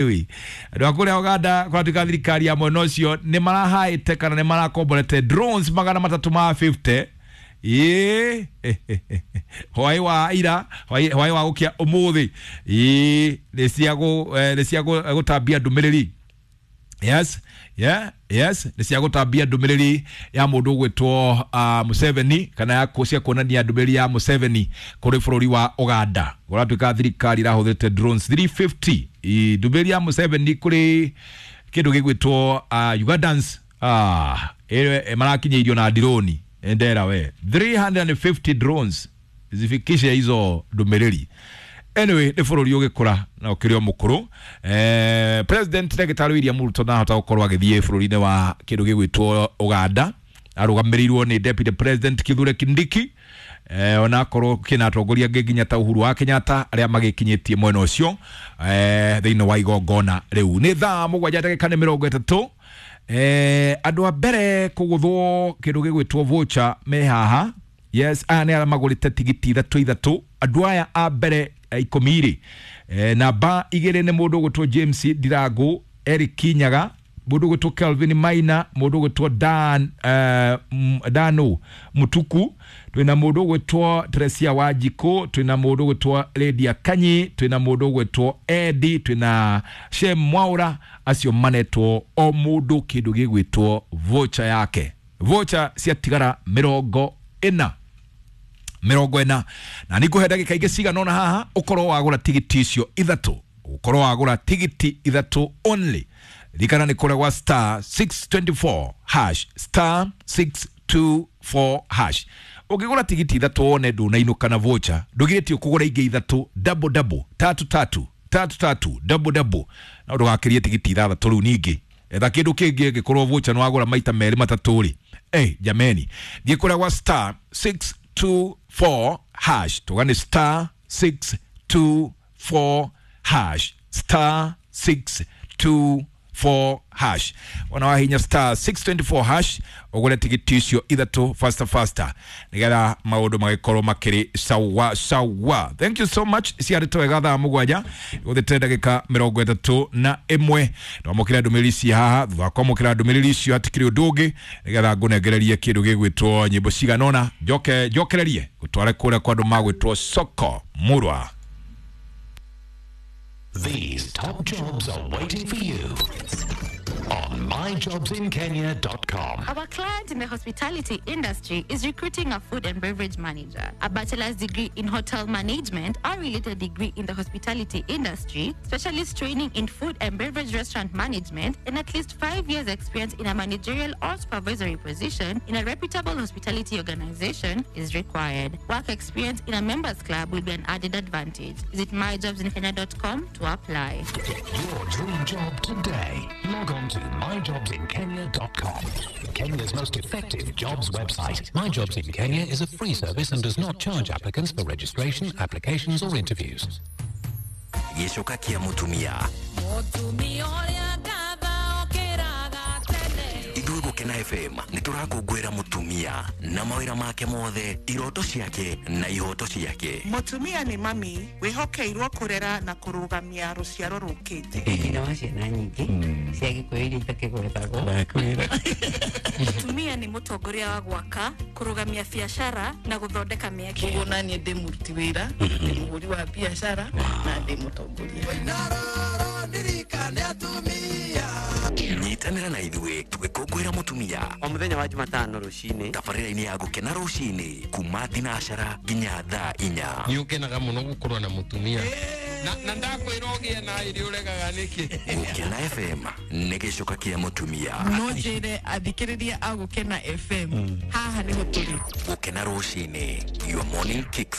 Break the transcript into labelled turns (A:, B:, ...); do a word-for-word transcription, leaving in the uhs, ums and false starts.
A: Andå a kå rä a Uganda kũratuĩka thirikari ya mwena ũcio nĩ marahaĩte kana nĩ marakomborete drones magana matatũ ma mĩrongo ĩtano ĩĩ hwaĩ wa ira, hwaĩ hwaĩ wa gũkia ũmũthĩ, ĩĩ nĩ cia gũ- eh, nĩ cia gũ- gũtambia ndũmĩrĩri. Yes, yeah, yes, nĩ cia gũtambia ndũmĩrĩri ya mũndũ ũgwĩtwo uh, Museveni, kana ya kũ- cia kuonania ndũmĩrĩri ya Museveni kũrĩ bũrũri wa Uganda. Kũratuĩka thirikari ĩrahũthĩrĩte drones magana mathatũ na mĩrongo ĩtano. I- ndũmĩrĩri ya Museveni kũrĩ kĩndũ gĩgwĩtwo uh, Ugandans, ah, ĩrĩa marakinyĩirio na droni ndera we three hundred fifty drones zifikishe hizo ndũmĩrĩri. Anyway, nĩ bũrũri ũgĩkũra na ũkĩrĩ o mũkũrũ. eh, president Ndagĩtarĩ William Ruto ndahota gũkorwo agĩthiĩ bũrũri-inĩ wa kĩndũ gĩgwĩtwo Uganda, arũgamĩrĩirwo nĩ Deputy President Kithure Kindiki, eh, onakorwo kĩna atongoria angĩ nginya ta Uhuru wa Kenyatta arĩa magĩkinyĩtie mwena ũcio eh, thĩinĩ wa igongona rĩu. Nĩ thaa mũgwanja ndagĩka nĩ mĩrongo ĩtatũ. eh, andũ a mbere kũgũthwo kĩndũ gĩgwĩtwo voucher me haha. Yes, aya nĩ arĩa magũrĩte tigiti ithatũ ithatũ. Andũ aya a mbere eh, ikũmi rĩ, eh, namba igĩrĩ nĩ mũndũ ũgwĩtwo James Ndirangu, Eric Kinyaga, mũndũ ũgwĩtwo Kelvin Maina, mũndũ ũgwĩtwo Dan uh, Dano Mutuku, twĩna mũndũ ũgwĩtwo Teresia Wanjikũ, twĩna mũndũ ũgwĩtwo Lydia Kanyi, twĩna mũndũ ũgwĩtwo Edi, twĩna Shem Mwaura. Acio manetwo o mũndũ kĩndũ gĩgwĩtwo voucher yake. Voucher ciatigara mĩrongo ĩna, mĩrongo ĩna, na nĩ ngũhe ndagĩka ingĩ cigana ũna haha ũkorwo wagũra tigiti icio ithatũ, ũkorwo wagũra tigiti ithatũ only. Ririkana nĩ kũrĩa gwa star six two four hash, star six two four hash. Ũngĩgũra tigiti ithatũ wone ndũnainũka na voucher, ndũgirĩtio kũgũra ingĩ ithatũ, double double, tatu tatu, tatu tatu, double double, na ndũgakĩrie tigiti ithathatũ. Rĩu ningĩ etha kĩndũ kĩngĩ ĩngĩkorwo voucher nĩ wagũra maita merĩ matatũ rĩ. Hey, jameni, thiĩ kũrĩa gwa star six two four hash. Tuga nĩ star six two four hash, star six two four hash. Wona wahinya star six two four hash ũgũre tigiti icio ithatũ faster faster, nĩgetha maũndũ magĩkorwo makĩrĩ sawa sawa. Thank you so much. Ciarĩtwo wega. Thaa mũgwanja gũthĩte ndagĩka mĩrongo ĩtatũ na ĩmwe. Twamũkĩra ndũmĩrĩri ici haha. Thutha wa kwamũkĩra ndũmĩrĩri icio hatikĩrĩ ũndũ ũngĩ, nĩgetha ngũnengererie kĩndũ gĩgwĩtwo nyĩmbo cigana ũna, njoke njokererie gũtware kũrĩa kwa andũ magwĩtwo Soko Murwa.
B: These top jobs are waiting for you on my jobs in kenya dot com.
C: Our client in the hospitality industry is recruiting a food and beverage manager, a bachelor's degree in hotel management or related degree in the hospitality industry, specialist training in food and beverage restaurant management, and at least five years' experience in a managerial or supervisory position in a reputable hospitality organization is required. Work experience in a members club will be an added advantage. Visit my jobs in kenya dot com to apply.
B: Get your dream job today. Log on to my jobs in kenya dot com. Kenya's most effective jobs website. My Jobs in Kenya is a free service and does not charge applicants for registration, applications or interviews.
D: Gĩcoka kĩa mũtumia.
E: Mũtumia ũrĩa ngatha okĩraga tene.
D: Ithuĩ Gũkena F M nĩ tũrakũngũĩra mũtumia na mawĩra make mothe, iroto ciake na ihoto ciake.
F: Mũtumia nĩ mami wĩhokeirwo kũrera na kũrũgamia rũciaro rũkĩte.
G: Nyina wa ciana nyingĩ cia Gĩkũyũ iria itakĩgwetagwo.
E: Mũtumia nĩ mũtongoria wa gwaka, kũrũgamia biacara na gũthondeka mĩeke.
H: Koguo naniĩ ndĩ mũruti wĩra, ndĩ mũhũri wa biacara na ndĩ mũtongoria.
D: Nyitanĩra na ithuĩ tũgĩkũngũĩra mũtumia
G: o mũthenya wa Jumatano rũcinĩ
D: tabarĩra-inĩ ya Gũkena rũcinĩ kuma thinacara nginya thaa inya.
I: Nĩ ũkenaga mũno gũkorwo na mũtumia na, na ndakwĩra ũgĩe na ĩrĩ ũregaga nĩkĩ.
D: Gũkena F M nĩ gĩcoka kĩa mũtumia.
H: No njĩre athikĩrĩria a Gũkena F M haha nĩho tũrĩ.
D: Gũkena rũcinĩ, your morning kickstart.